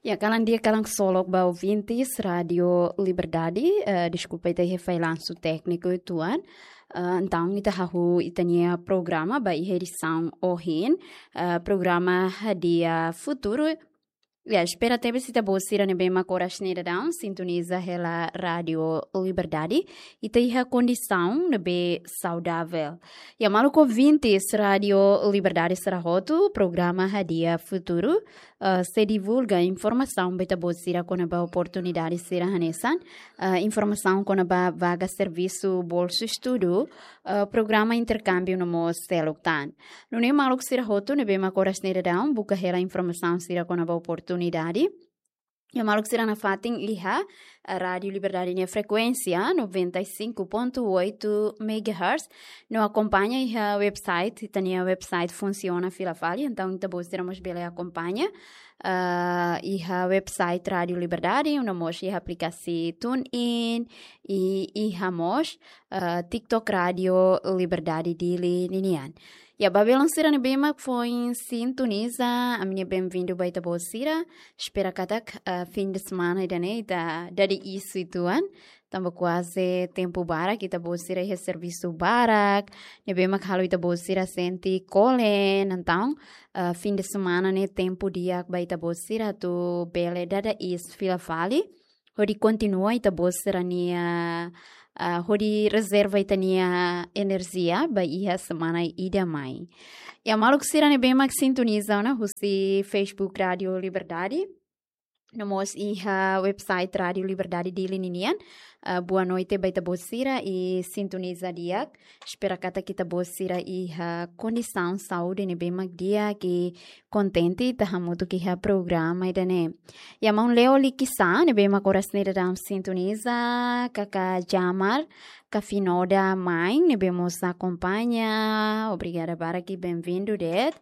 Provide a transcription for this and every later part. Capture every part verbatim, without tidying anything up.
Ya, kalan di'ak, kalan ksolok ba ouvintes Rádio Liberdade, eh, deskulpa ita iha fallansu tékniku uitoan. Eh, entaun ita hahú ita-nia programa ba iha edisaun ohin, eh, programa Hadi'a Futuru. Ya, espera tebes ita-boot sira ne'ebé mak oras ne'e daudaun sintoniza hela Rádio Liberdade, ita iha kondisaun ne'ebé saudavel. Ya, maluk ouvintes Rádio Liberdade sira hotu, programa Hadi'a Futuru, eh, sei divulga informasaun ba ita-boot sira kona-ba oportunidade sira hanesan, eh, informasaun kona-ba vaga servisu, bolsu estudu, eh, programa interkámbiu no mós seluk tan. Nune'e maluk sira hotu ne'ebé mak oras ne'e daudaun buka hela informasaun sira kona-ba oportunidade. Ya, maluk sira nafatin iha, eh, Rádio Liberdade nia frekuénsia noventa e cinco ponto oito megahertz. No akompaña iha website, ita-nia website funsiona fila fali, entaun ita-boot sira mós bele akompaña, eh, iha website Rádio Liberdade, no mós iha aplikasi TuneIn, i iha mós, eh, TikTok Rádio Liberdade Dili ninian. Ya, ba belun sira ne'ebé mak foin sintoniza, ami-nia benvindu ba ita-boot sira. Espera katak, eh, fin de semana ida-ne'e ita dada iis uitoan. Tanba kuaze tempu barak ita-boot sira iha servisu barak, ne'ebé mak halo ita-boot sira sente kole, entaun, eh, fin de semana ne'e tempu di'ak ba ita-boot sira atu bele dada iis fila fali, hodi kontinua ita-boot sira-nia, ah, hodi rezerva ita-nia enerjia ba iha semana ida mai. Ya, maluk sira ne'ebé mak sintoniza ona husi Facebook Rádio Liberdade, no mós iha website Rádio Liberdade Dili ninian, ah, boa noite ba ita-boot sira i sintoniza di'ak. Espera katak ita-boot sira iha kondisaun saúde ne'ebé mak di'ak i kontente ita hamutuk iha programa ida-ne'e. Ya, maun Leo Likisá ne'ebé mak oras ne'e daudaun sintoniza, kaka Jamar, ka Finoda Main ne'ebé mós akompaña, obrigada barak i benvindu de'it.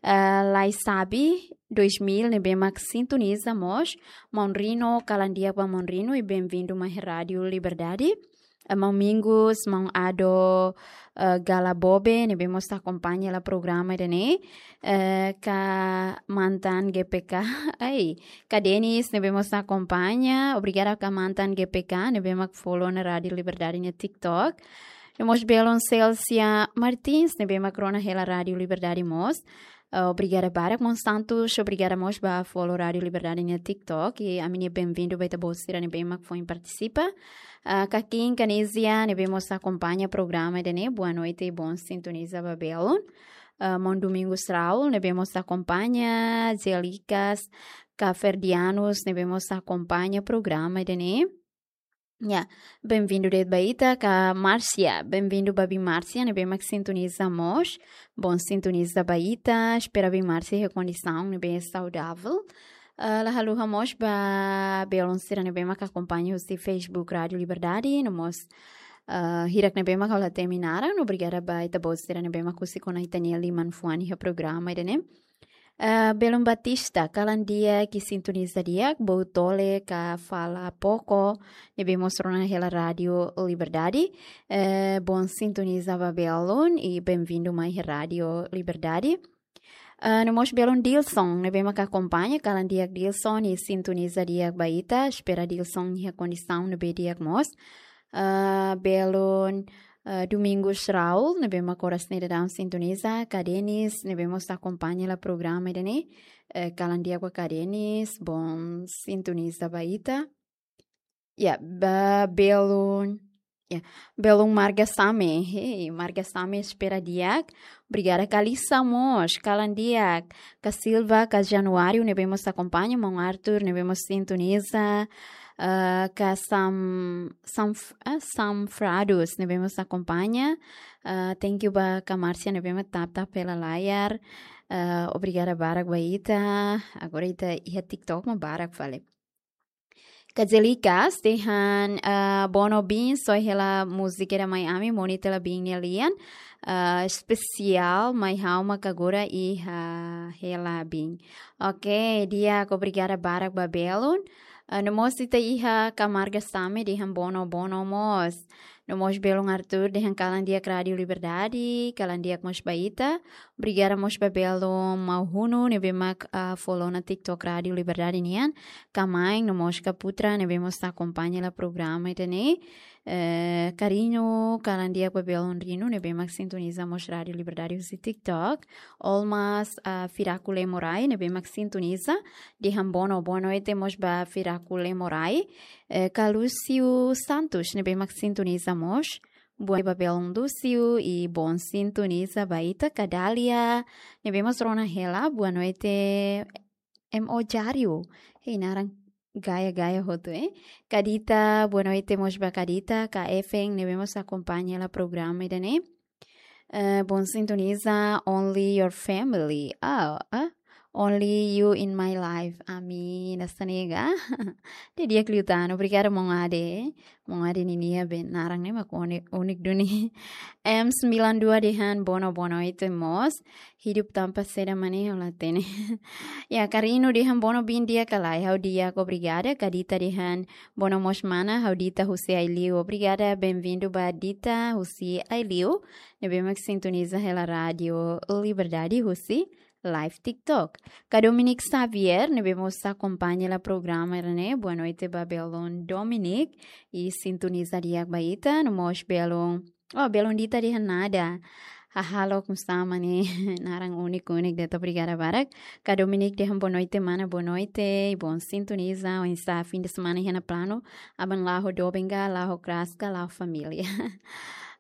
Eh, Lai Sabi dois mil ne'ebé mak sintoniza mós, maun Rino, kalan di'ak ba maun Rino i benvindu mai Rádio Liberdade. Eh, maun Mingus, maun Ado, eh, Galabobe, ne'ebé mós akompaña hela programa ida-ne'e, eh, ka mantan G P K, ai, ka Denis, ne'ebé mós akompaña, obrigada ka mantan G P K, ne'ebé mak follow ona Rádio Liberdade nia TikTok. No mós belun Celsia Martins, ne'ebé mak rona hela Rádio Liberdade mós. Ah, obrigada barak, maun Santos, obrigada mós ba follow Rádio Liberdade nia TikTok, i ami-nia benvindu ba ita-boot sira ne'ebé mak foin partisipa. Ah, Kakin Kanizia, ne'ebé mós akompaña programa ida-ne'e, boa noite i bom sintoniza ba belun. Ah, maun Domingos Raul, ne'ebé mós akompaña, Zelikas, ka Ferdianos, ne'ebé mós akompaña programa ida-ne'e. Ya, benvindu de'it ba ita, ka Márcia, benvindu ba biin Márcia, ne'ebé mak sintoniza mós, bom sintoniza ba ita, espera biin Márcia iha kondisaun ne'ebé saudavel. Ah, la haluha mós ba belun sira ne'ebé mak akompaña husi Facebook Rádio Liberdade, no mós, ah, hirak ne'ebé mak halo temi naran, obrigada ba ita-boot sira ne'ebé mak husik ona ita-nia liman fuan iha programa ida-ne'e. Ah, belun Batista, kalan di'ak i sintoniza di'ak, Boutole ka Fala Poko, ne'ebé mós rona hela Rádio Liberdade. Eh, bom sintoniza ba belun i benvindu mai Rádio Liberdade. Ah, no mós belun Dilson, ne'ebé mak akompaña, kalan di'ak Dilson i sintoniza di'ak ba ita, espera Dilson iha kondisaun ne'ebé di'ak mós. Ah, belun, ah, Domingos Raul, ne'ebé mak oras ne'e daudaun sintoniza, ka Denis, ne'ebé mós akompaña hela programa ida-ne'e, eh, kalan di'ak ba ka Denis, bom sintoniza ba ita. Ya, ba belun, ya, belun Marga Same, hei, Marga Same espera di'ak. Obrigada ka Lisa mós, kalan di'ak. Ka Silva, ka Januário, ne'ebé mós akompaña, maun Arthur, ne'ebé mós sintoniza, ah, ka Sam, Sam, ah, Sam Frados, ne'ebé mós akompaña. Ah, thank you ba ka Márcia, ne'ebé mak tap-tap hela layar. Ah, obrigada barak ba ita. Agora ita iha TikTok mak barak fali. Ka Zelikas, dehan, ah, Bono biin, soe hela múzika ida mai ami, Monita la biin nia lian, ah, espesiál, mai ha'u mak agora iha hela biin. Oke, di'ak, obrigada barak ba belun. Ah, no mós ita iha ka Marga Same, dehan Bono, Bono mós. No mós belun Arthur dehan kalan di'ak Rádio Liberdade, kalan di'ak mós ba ita. Obrigada mós ba belun Mau Hunu, ne'ebé mak, ah, follow ona TikTok Rádio Liberdade nian. Ka Main, no mós ka Putra, ne'ebé mós akompaña hela programa ida-ne'e. Eh, Kariñu, kalan di'ak ba belun Rinu, ne'ebé mak sintoniza mós Rádio Liberdade husi TikTok. Olmas, ah, Firaku Lemorai, ne'ebé mak sintoniza. Dehan bono, boa noite mós ba Firaku Lemorai. Eh, ka Lúcio Santos, ne'ebé mak sintoniza mós. Boa noite ba belun Lúcio, i boa sintoniza ba ita. Ka Dália, ne'ebé mós rona hela, boa noite, M O Jário. Hei, naran gaya-gaya hotu, eh. Ka Dita, boa noite mós ba Ka Dita, ka Efen, ne'ebé mós akompaña hela programa ida-ne'e. Eh, boa sintoniza, only your family. Ah, ah. Only you in my life. Ami na sanega. Di'ak liután, obrigada, maun Ade. Maun Ade ninia be naran ne'e mak uni-, unik duni. M sembilan dua dehan bono, boa noite mós. Hidup tanpa seda maneho la hatene. Ya, Karinu dehan bono bin di'ak ka lae, ha'u di'ak, obrigada. Ka Dita dehan bono mós mana, ha'u Dita husi Aileu. Obrigada, bem-vindo ba Dita husi Aileu. Ne'ebé mak sintoniza hela Rádio Liberdade husi live TikTok. Ka Dominic Xavier, ne'ebé mós akompaña hela programa ida-ne'e. Boa noite ba belun Dominic. I sintoniza di'ak ba ita, no mós belun. Oh, belun Dita dehan nada. Hahalok, nusá mak ne'e, naran unik-unik de'it, obrigada barak. Ka Dominic dehan boa noite mana, boa noite. I boa sintoniza, oinsá fim de semana iha ona planu. Aban la'o doben ka, la'o kraska, la'o família.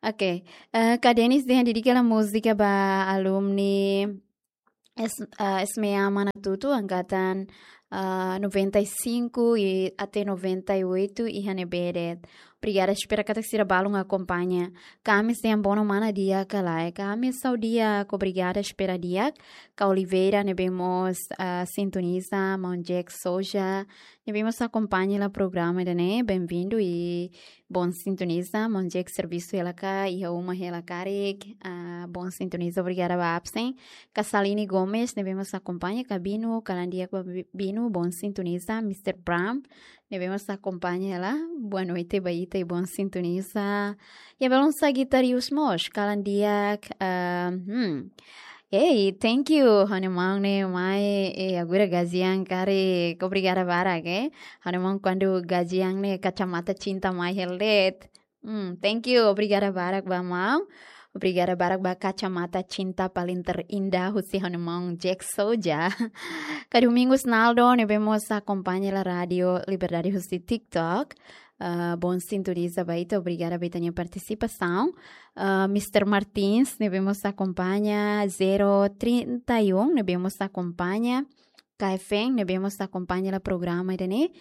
Ok. Eh, ka Denis dehan dedika hela múzika ba alumni S-, ah, S M A Manatuto, angkatan, ah, noventa e cinco i até noventa e oito iha ne'ebé de'it. Obrigada, espera katak sira balun akompaña. Ka Amis dehan bono mana, di'ak ka lae. Ka Amis, ha'u di'ak, obrigada, espera di'ak. Ka Oliveira, ne'ebé mós, ah, sintoniza, maun Jack Souza, ne'ebé mós akompaña hela programa ida-ne'e, bem-vindo i boa sintoniza, maun Jack servisu hela ka, iha uma hela karik, ah, boa sintoniza, obrigada ba absen. Ka Saline Gomes, ne'ebé mós akompaña, ka Binu, kalan di'ak ba Bi-, Binu, boa sintoniza, mister Bram, ne'ebé mós akompaña hela, boa noite ba ita i boa sintoniza. Ya, belun Sagitarius mós, kalan di'ak, ah, hmm. Ei, thank you, ha'u-nia maun ne'e mai, eh, agora gajian karik, obrigada barak, eh. Ha'u-nia maun kuandu gajian ne'e kacamata cinta mai hela de'it. Hmm, thank you, obrigada barak ba maun. Obrigada barak ba kacamata cinta paling terindah husi ha'u-nia maun Jack Souza. Ka Domingos Naldo, ne'ebé mós akompaña hela Rádio Liberdade husi TikTok. Ah, boa sintoniza ba ita, obrigada ba ita-nia partisipasaun. Ah, mister Martins, ne'ebé mós akompaña, zero trinta e um, ne'ebé mós akompaña. Ka Efen, ne'ebé mós akompaña hela programa ida-ne'e.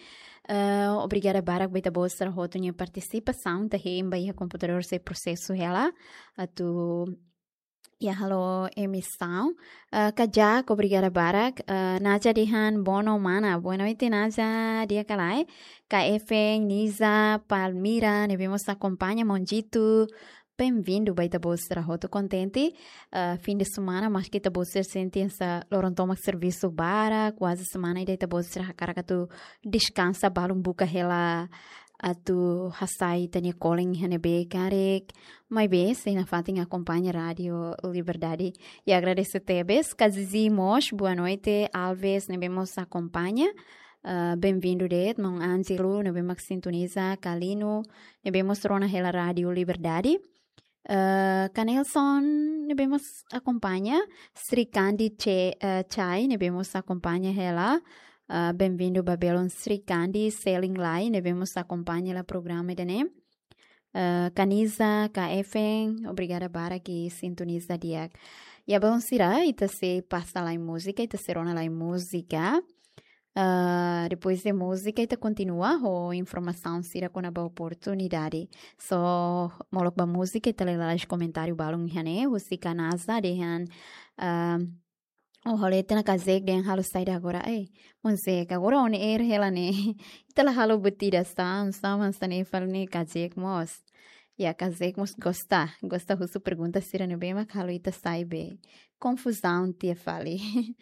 Ah, obrigada barak ba ita-boot sira hotu nia partisipasaun, ita hein ba iha komputadór sei prosesu hela atu iha halo emisaun. Ah, ka Jack, obrigada barak. Ah, Naja dehan bono mana. Boa noite, Naja. Di'ak ka lae. Ka Efen, Niza, Palmira, ne'ebé mós akompaña, maun Jitu. Bem-vindo ba ita-boot sira hotu, kontente. Ah, fim de semana, maski ita-boot sira sente hanesan loron tomak servisu barak, kuaze semana ida ita-boot sira hakarak atu deskansa, balun buka hela atu hasai ita-nia kolen iha ne'ebé karik. Maibé sei nafatin akompaña Rádio Liberdade. I agradese tebes. Ka Zizi mós, boa noite. Alves, ne'ebé mós akompaña. Ah, bem-vindo de'it, maun Ângelo, ne'ebé mak sintoniza, Kalino, ne'ebé mós rona hela Rádio Liberdade. Ah, ka Nelson, ne'ebé mós akompaña, Srikandi Che-, ah, Chai, ne'ebé mós akompaña hela. Ah, bem-vindo ba belun Srikandi, Seling Lai, ne'ebé mós akompaña hela programa ida-ne'e. Ah, ka Niza, ka Efen, obrigada barak i sintoniza di'ak. Ya, belun sira, ita sei pasa lai múzika, ita sei rona lai múzika. Ah, depois de múzika, ita kontinua ho informasaun sira kona-ba oportunidade. Só molok ba múzika, ita lee lalais komentáriu balun iha ne'e, husi ka Naza dehan, ah, oh, halo ita na kazek dehan halo saida agora. Eh, maun Zek, agora on air hela ne'e. Ita la halo buat ida, sá, sá mak hanesan ne'e fali ne'e kazek mós. Ya, kazek mós gosta, gosta husu pergunta sira ne'ebé mak halo ita sai be konfuzaun tiha fali.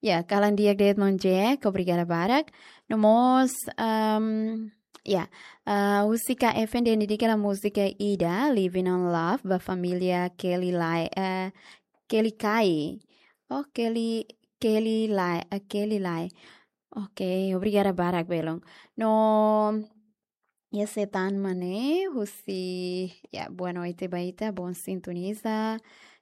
Ya, kalan di'ak de'it maun Jack, obrigada barak. No mós, ehm, Ya, ah, husi K F N D N D hela múzika ida, Living on Love, ba família Kelly Lai, eh, Kelly Kai. Oh, Kelly, Kelly Lai, eh, Kelly Lai. Ok, obrigada barak belun. No, ya, Setan Mane, husi, ya, boa noite ba ita, bom sintoniza.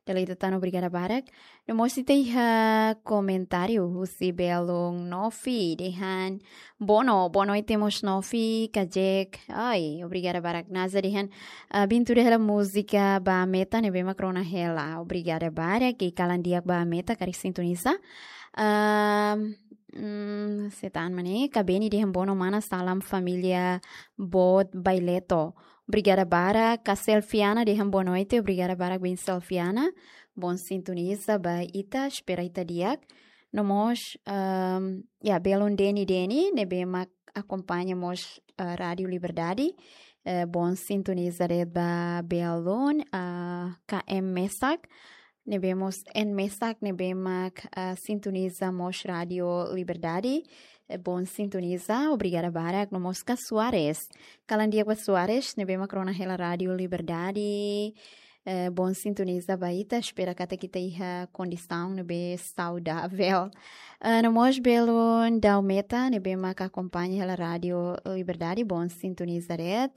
Dala ida tan obrigada barak. No mós ita iha komentáriu husi belun Nofi, dehan: Bono, boa noite mós Nofi, kajek. Ai, obrigada barak. Naza dehan, ah, bin tuda hela múzika ba Meta ne'ebé mak rona hela. Obrigada barak, i kalan di'ak ba Meta, karik sintoniza. Ah, mm, Setan Mane, Kabeni dehan: Bono mana, salam família boot Baileto. Obrigada barak. Ka Selfiana dehan: Boa noite, obrigada barak bin Selfiana. Bom sintoniza ba ita, espera ita di'ak. No mós, ehm, ya, belun Deni Deni, ne'ebé mak akompaña mós, eh, Rádiu Liberdade. Eh, bom sintoniza de'it ba belun, ah, K M Mesak. Ne'ebé mós N Mesak, ne'ebé mak, ah, sintoniza mós Rádiu Liberdade. Eh, bom sintoniza, obrigada barak. No mós ka Soares. Kalan di'ak ba Soares, ne'ebé mak rona hela Rádiu Liberdade. Eh, bom sintoniza ba ita, espera katak ita iha kondisaun ne'ebé saudavel. Eh, no mós belun Daumeta, ne'ebé mak akompaña hela Rádiu Liberdade, bom sintoniza de'it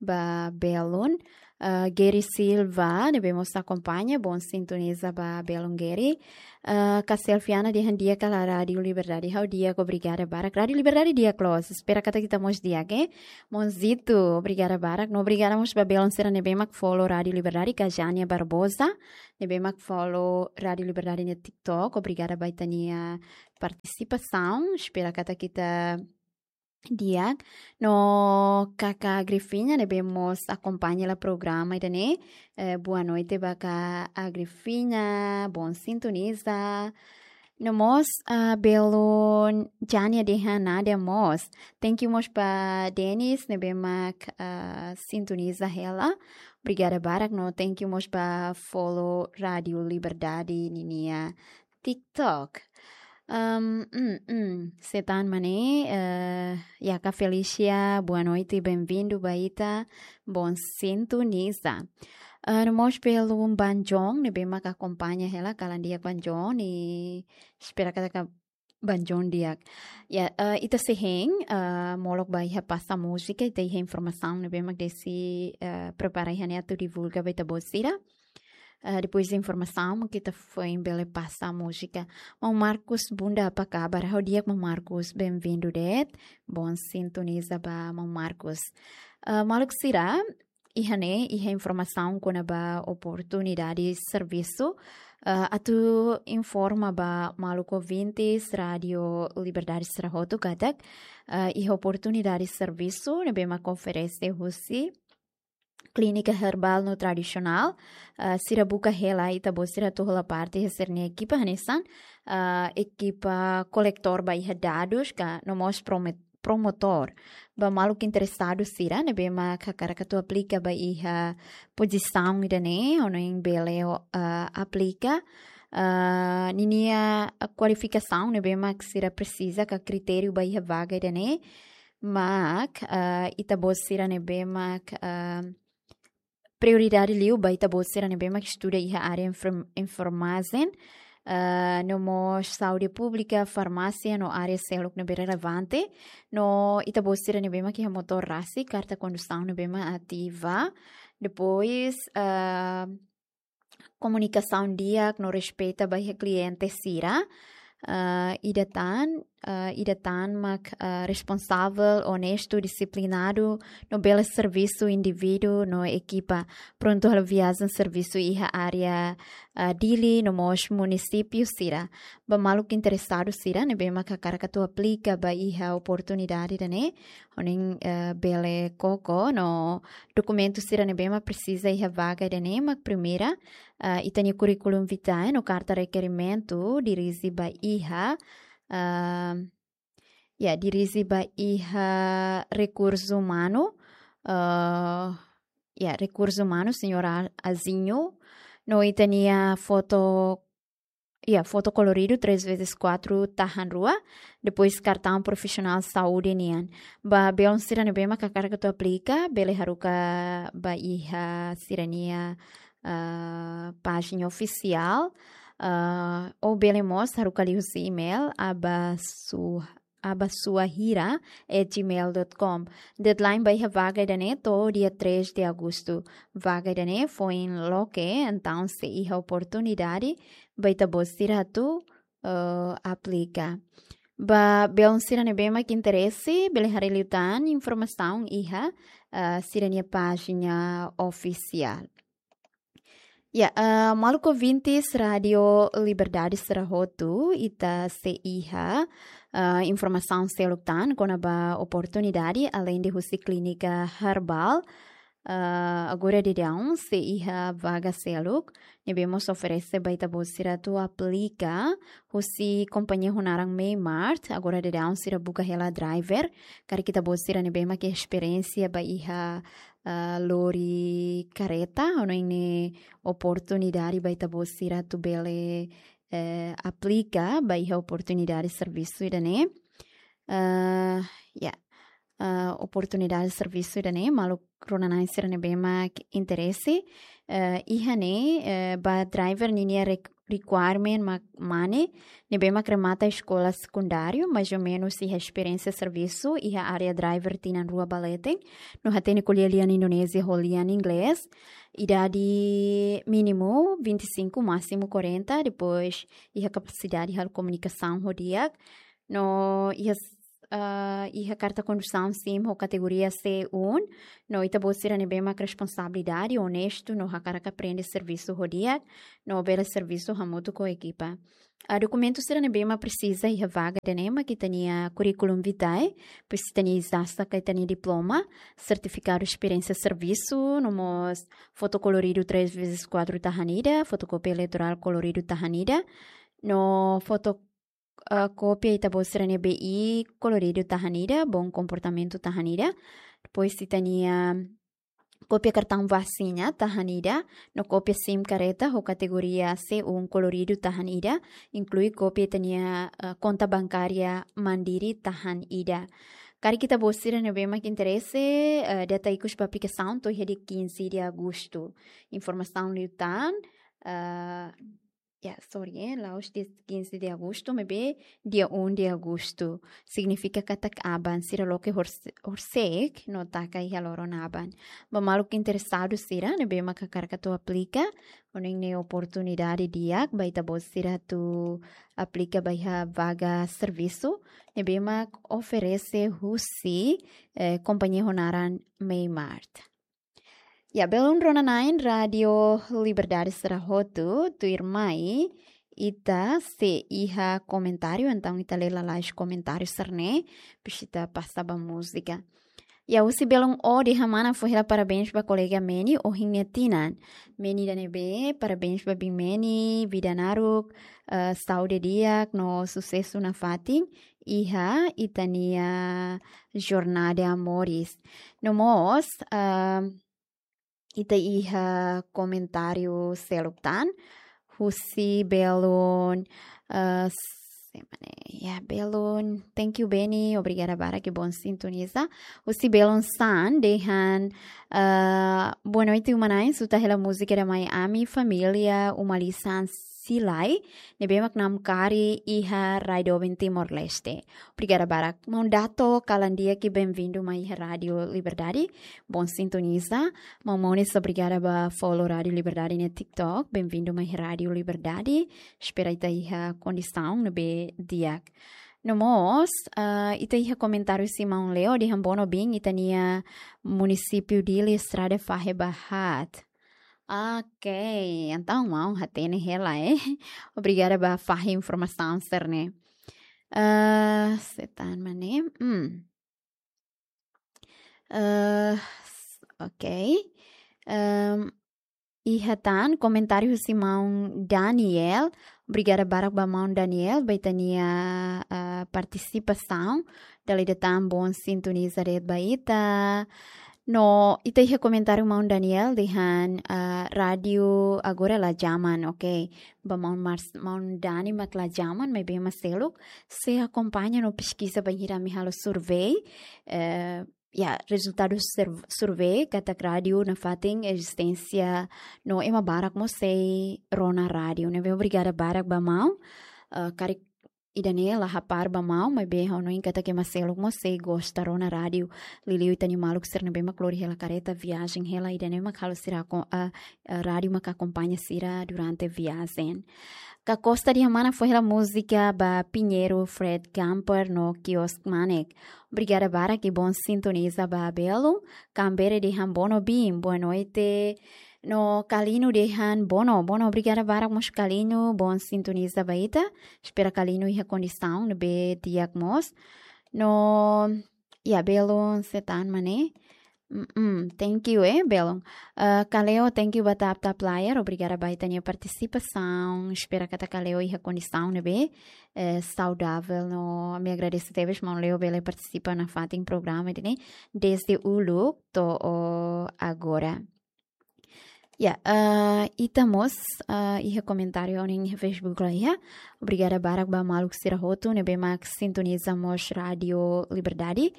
ba belun. Eh, Gary Silva, ne'ebé mós akompaña, bom sintoniza ba belun Gary. Eh, ka Selfiana dehan di'ak ka lae Rádiu Liberdade? Ha'u di'ak, obrigada barak. Rádiu Liberdade di'ak loos, espera katak ita mós di'ak, eh. Monzito, obrigada barak. No obrigada mós ba belun sira ne'ebé mak follow Rádiu Liberdade, ka Jania Barbosa, ne'ebé mak follow Rádiu Liberdade nia TikTok. Obrigada ba ita-nia partisipasaun. Espera katak ita di'ak. No Kaka Agrifinha, ne'ebé mós akompaña hela programa ida-ne'e. Eh, boa noite ba Kaka Agrifinha, bom sintoniza. No mós, ah, belun Jania dehan naran mós. Thank you mós ba Dennis, ne'ebé mak, ah, sintoniza hela. Obrigada barak, no thank you mós ba follow Rádiu Liberdade ninia TikTok. Ehm, mm, mm, Setan Mane, eh, ya, ka Felicia, boa noite, bem-vindo ba ita, bom sintoniza. Eh, no mós belun Banjong, ne'ebé mak akompaña hela, kalan di'ak Banjong, i espera katak Banjong di'ak. Ya, eh, ita sei hein, eh, molok ba iha pasta múzika, ita iha informasaun ne'ebé mak Desi, eh, prepara iha ne'e atu divulga ba ita-boot sira. Eh, depois de informasaun, mak ita foin bele pasta múzika. Maun Marcos Bunda, apa kabar? Ha'u di'ak, Maun Marcos, bem-vindo de'it. Bom sintoniza ba Maun Marcos. Eh, maluk sira, iha ne'e iha informasaun kona-ba oportunidade servisu. Eh, atu informa ba maluk ouvintes Rádiu Liberdade sira hotu katak, eh, iha oportunidade servisu ne'ebé mak oferese husi Klínika Herbal no Tradisionál. Eh, sira buka hela ita-boot sira atu hola parte iha sira-nia ekipa hanesan, eh, ekipa kolektór ba iha dadus ka no mós promet-, promotór. Ba maluk interesadu sira ne'ebé mak hakarak atu aplika ba iha pozisaun ida-ne'e, hanoin bele, eh, aplika. Eh, ninia kualifikasaun ne'ebé mak sira presiza ka kritériu ba iha vaga ida-ne'e. Mak, eh, ita-boot sira ne'ebé mak, eh, prioridade liu ba ita-boot sira ne'ebé mak estuda iha área enferm-, enfermajen, eh, no mós saúde públika, farmásia, no área seluk ne'ebé relevante, no ita-boot sira ne'ebé mak iha motór rasik, karta kondusaun ne'ebé mak ativa, depois, eh, komunikasaun di'ak no respeita ba iha kliente sira, eh, ida tan, eh, ida tan mak, eh, responsavel, onestu, disiplinadu, no bele servisu indivíduu no ekipa, prontu halo viajen servisu iha área, eh, Dili, no mós munisípiu sira. Ba maluk interesadu sira ne'ebé mak hakarak atu aplika ba iha oportunidade ida-ne'e, hanoin, eh, bele koko, no dokumentu sira ne'ebé mak presiza iha vaga ida-ne'e mak primeira, eh, ita-nia curriculum vitae no karta rekerimentu dirije ba iha, eh, ya, dirije ba iha rekursu umanu, eh, ya, rekursu umanu, señór A-, Azinho, no ita-nia foto Ya, foto koloridu três vezes quatro tahan rua, depois kartaun profisionál saúde nian. Ba belun sira ne'ebé mak hakarak atu aplika, bele haruka ba iha sira-nia, ah, pájina ofisiál, ah, ou bele mós haruka liuhusi email abasu abasuahira at gmail dot com. Deadline ba iha vaga ida-ne'e to'o dia três de agosto. Vaga ida-ne'e foin loke, entaun sei iha oportunidade ba ita-boot sira atu, eh, aplika. Ba belun sira ne'ebé mak interese, bele haree liután informasaun iha, eh, sira-nia pájina ofisiál. Ya, eh, maluk ouvintes Rádio Liberdade sira hotu, ita sei iha, eh, informasaun seluk tan kona-ba oportunidade, além de husi klínika herbal, eh, agora daudaun sei iha vaga seluk ne'ebé mós oferese ba ita-boot sira atu aplika, husi kompañia ho naran Meimart, agora daudaun sira buka hela driver, karik ita-boot sira ne'ebé mak esperiénsia ba iha, ah, lori karreta, hanoin ne'e oportunidade ba ita-boot sira atu bele, eh, aplika ba iha oportunidade servisu ida-ne'e. Ah, ya. Ah, oportunidade servisu ida-ne'e, maluk rona-na'in sira ne'ebé mak interese, eh, iha ne'e, eh, ba driver ninia re-, requirement mak mane, ne'ebé mak remata eskola sekundáriu, mais ou menus iha esperiénsia servisu iha área driver tinan rua ba leten, no hatene ko'alia lian Indonézia ho lian Inglés, idade mínimu vinte e cinco, másimu quarenta, depois iha kapasidade halo komunikasaun ho di'ak, no iha s-, ah, iha karta kondusaun sim ho kategoria C um, no ita-boot sira ne'ebé mak responsabilidade, onestu, no hakarak aprende servisu ho di'ak, no bele servisu hamutuk ho ekipa. Ah, dokumentu sira ne'ebé mak presiza iha vaga ida-ne'e mak ita-nia curriculum vitae, depois ita-nia ijazah ka ita-nia diploma, sertifikadu esperiénsia servisu, no mós foto koloridu três vezes quatro tahan ida, fotokópia eleitorál koloridu tahan ida, no foto, ah, kópia ita-boot sira-nia B I koloridu tahan ida, bom comportamento tahan ida, depois ita-nia kópia kartaun vasina tahan ida, no kópia sim karreta ho kategoria C um koloridu tahan ida, inklui kópia ita-nia, eh, konta bankária Mandiri tahan ida. Karik ita-boot sira ne'ebé mak interese, eh, data ikus ba aplikasaun to'o iha dia quinze de agosto. Informasaun liután, eh, ya, sorry, eh, la'ós dia quinze de agosto, maibé dia um de agosto. Signifika katak aban, sira loke horse-, horisehik, no taka iha loron aban. Ba maluk interesadu sira ne'ebé mak hakarak atu aplika, hanoin ne'e oportunidade di'ak ba ita-boot sira atu aplika ba iha vaga servisu ne'ebé mak oferese husi, eh, kompañia ho naran Meimart. Ya, belun rona-na'in Rádio Liberdade sira hotu, tuirmai ita sei iha komentáriu, entaun ita lee lalais komentáriu sira-ne'e, depois ita pasa ba múzika. Ya, husi belun O dehan: mana fó hela parabéns ba kolega Meni ohin nia tinan. Meni ida ne'ebé, parabéns ba biin Meni, vida naruk, eh, saúde di'ak no susesu nafatin iha ita-nia jornada moris. No mós, ah, ita iha komentáriu seluk tan, husi belun, eh, semana, ya, belun, thank you, Beni, obrigada barak, bom sintoniza. Husi belun San, dehan, eh, boa noite, uma-na'in, escuta hela múzika da Miami, família, uma lisan Silai, ne'ebé mak namkari iha rai doben Timor-Leste. Obrigada barak. Maun Dato, kalan di'ak, bem-vindo mai iha Rádio Liberdade. Bom sintoniza. Maun Mones, obrigada ba follow Rádio Liberdade iha TikTok. Bem-vindo mai iha Rádio Liberdade. Espera ita iha kondisaun ne'ebé di'ak. No mós, ah, ita iha komentáriu husi maun Leo, dehan: bono bin, ita-nia munisípiu Dili estrada fahe ba haat. Ok, entaun maun hatene hela, eh. Obrigada ba fahe informasaun sira-ne'e. Eh, setan mane. Hmm. Eh, s-, ok. Em, iha tan komentáriu husi maun Daniel. Obrigada barak ba maun Daniel, ba ita-nia, eh, partisipasaun. Dala ida tan bom sintoniza de'it ba ita. No, ita iha komentáriu maun Daniel dehan, ah, rádiu agora la jaman, ok. Ba maun Mars-, maun Dani mak la jaman, maibé ema seluk sei akompaña no peskiza bainhira ami halo survey, eh, ya, rezultadu sur-, survey katak rádiu nafatin ezisténsia no ema barak mós sei rona rádiu. Ne'ebé obrigada barak ba maun, eh, karik ida-ne'e la hapar ba maun, maibé ha'u hanoin katak ema seluk mós sei gosta rona rádiu. Liuliu ita-nia maluk sira ne'ebé mak lori hela kareta viajen hela, ida-ne'e mak halo sira ko-, ah, ah, rádiu mak akompaña sira durante viajen. Ka Costa di Hamana fó hela múzika ba Pinheiro Fred Camper no Kiosk Manek. Obrigada barak i bon sintoniza ba belun. Kambere dehan bono bin, boa noite. No Kalino dehan bono, bono, obrigada barak mós Kalino, bon sintoniza ba ita. Espera Kalino iha kondisaun ne'ebé di'ak mós. No, ya, belun sei tan mak ne'e. Mm, mm, thank you, eh, belun. Eh, Kaleo, thank you ba TapTap Player, obrigada ba ita-nia partisipasaun. Espera katak Kaleo iha kondisaun ne'ebé, eh, saudavel no ami agradese tebes maun Leo bele partisipa nafatin programa ida-ne'e desde uluk to'o agora. Ya, eh, ita mós, eh, iha komentáriu ohin iha Facebook laiha. Obrigada barak ba maluk sira hotu ne'ebé mak sintoniza mós Rádiu Liberdade.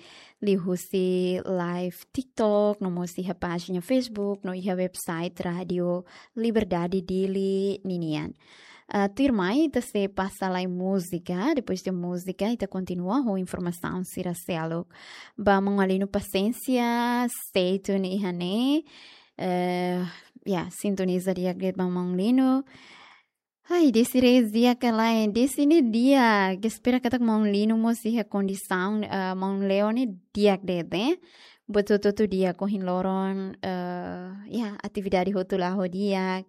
Liuhusi live TikTok, no mós iha pájina Facebook, no iha website Rádiu Liberdade Dili ninian. Eh, tuirmai, ita sei pasa lai múzika, depois de múzika, ita kontinua ho informasaun sira seluk. Ba maun Alino pasiénsia, stay tuned iha ne'e. Eh, ya, sintoniza di'ak de'it ba maun Lino. Ai, Desi Reis di'ak ka lae, Desi ne'e di'ak, espera katak maun Lino mós iha kondisaun, eh, maun Leo ne'e di'ak de'it, eh. Buat hotu-hotu di'ak, ohin loron, eh, ya, atividade hotu la'o di'ak.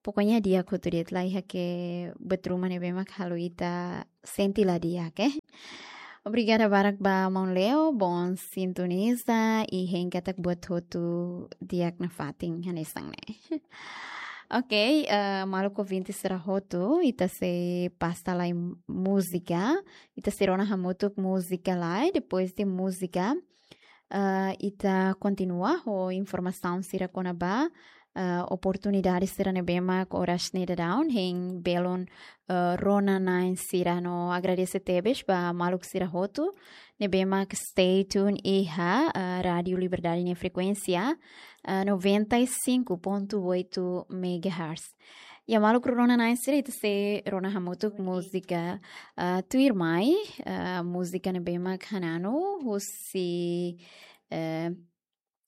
Pokoknya di'ak hotu de'it, laiha buat ruma ne'ebé mak halo ita sente la di'ak, eh. Obrigada barak ba maun Leo, bon sintoniza i hein katak buat hotu di'ak nafatin hanesan ne'e. Ok, eh, maluk ouvinte sira hotu, ita sei pasa lai múzika, ita sei rona hamutuk múzika lai, depois de múzika, eh, ita kontinua ho informasaun sira kona-ba, eh, oportunidade sira ne'ebé mak oras ne'e daudaun hein belun, eh, rona-na'in sira no agradese tebes ba maluk sira hotu ne'ebé mak stay tuned iha, eh, Rádiu Liberdade nia frekuénsia, eh, noventa e cinco ponto oito megahertz. Ya maluk rona-na'in sira, ita sei rona hamutuk múzika, eh, tuirmai, eh, múzika ne'ebé mak hananu husi, eh,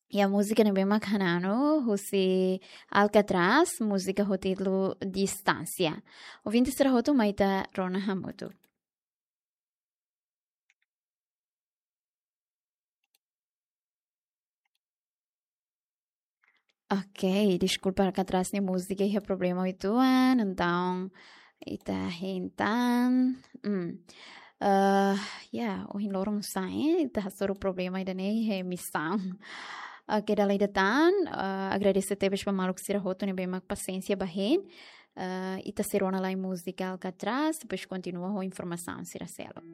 ya múzika ne'ebé mak hananu husi Alcatraz, múzika ho títulu Distánsia. Ouvinte sira hotu, mai ita rona hamutuk. Ok, deskulpa, Alcatraz nia múzika iha problema uitoan, entaun ita hein tan. Hmm. Eh, ya, ohin loron sa'e, ita hasoru problema ida-ne'e iha emisaun. Ok, dala ida tan, eh, agradese tebes ba maluk sira hotu ne'ebé mak pasiénsia ba hein. Eh, ita sei rona lai múzika Alcatraz, depois kontinua ho informasaun sira seluk.